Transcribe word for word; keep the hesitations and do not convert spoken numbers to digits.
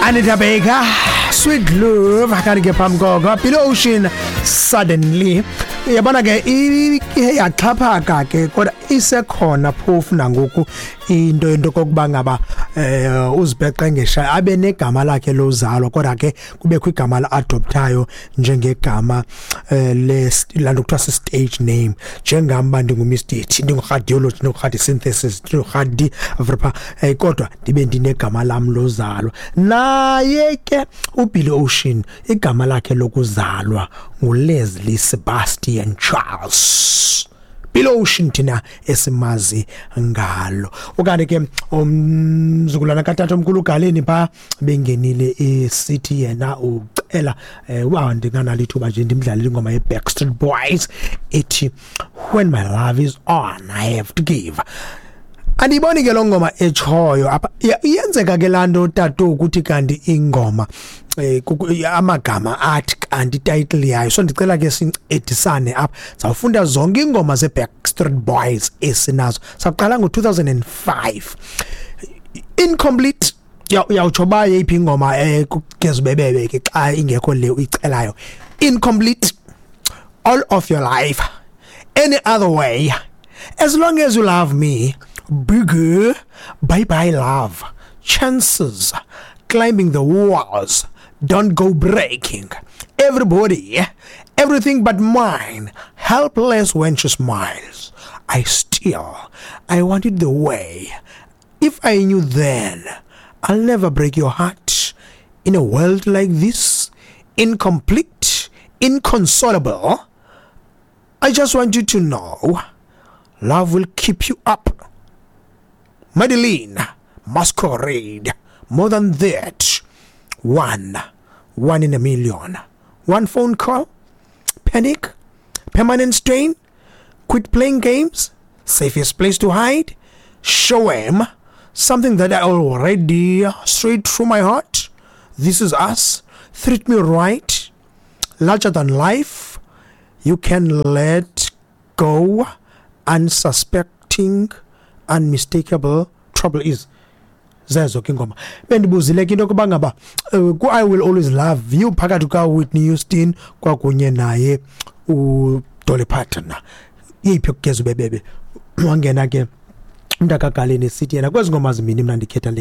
Anita Baker, "Sweet Love", kanti ke phambi koko Billy Ocean, "Suddenly". Uyabona ke, ihe yaxhaphaka ke, kodwa isekhona phofu nangoku into into kokuba ngaba eh uzibheqe ngesha abe negama lakhe lozalo, kodwa ke kubekho igama la adoptayo njengegama eh le lanto kuthiwa stage name, njengam ndingu Mister T, ndingu radiology, ndingu synthesis, ndingu radi vrpa, eh kodwa ndibe ndinegama lam lozalo. Naye ke uBilly Ocean, igama lakhe lokuzalwa nguLeslie Sebastian Charles Billy Ocean, thina esimazi ngalo. Okanye ke umzukulwana katata omkhulu uGaleni pha bengenile esithi yena ucela eh wa ndinganalo ithuba nje ndimdlalele ingoma ye-Backstreet Boys ethi "When My Love Is On, I Have to Give". Andiyiboni ke lo ngoma etshoyo apha. Iyenzeka ke laa nto, tatu, ukuthi kanti ingoma eh amagama athi kanti title yayo. So ndicela ke sincedisane apha. Zawufunda zonke ingoma ze-Backstreet Boys esinazo. Saqala ngo-two thousand and five, "Incomplete". Uyawutsho ba yeyiphi ingoma eh kugeza ubebebe ke xa ingekho le uyicelayo. "Incomplete", "All of Your Life", "Any Other Way", "As Long as You Love Me", "Bigger", "Bye Bye Love", "Chances", "Climbing the Walls", "Don't Go Breaking", "Everybody", "Everything But Mine", "Helpless When She Smiles", "I Still", "I Want It The Way", "If I Knew Then", "I'll Never Break Your Heart", "In a World Like This", "Incomplete", "Inconsolable", "I Just Want You to Know", "Love Will Keep You Up", "Madeline", "Masquerade", "More Than That", One, "One in a Million", "One Phone Call", "Panic", "Permanent Strain", "Quit Playing Games", "Safest Place to Hide", "Show 'Em", "Something That I Already", "Straight Through My Heart", "This Is Us", "Treat Me Right", "Larger Than Life", "You Can Let Go", "Unsuspecting", "Unmistakable", "Trouble Is". Zezo ke ingoma. Bendibuzile ke into yokuba ngaba uh, ku-"I Will Always Love You" phakathi kukaWhitney Houston kwakunye naye uDolly Parton, yeyiphi yokugeza ubebebe? Wangena ke umntakagaleni esithi yena kwezi ngoma zimbini mna ndikhetha le.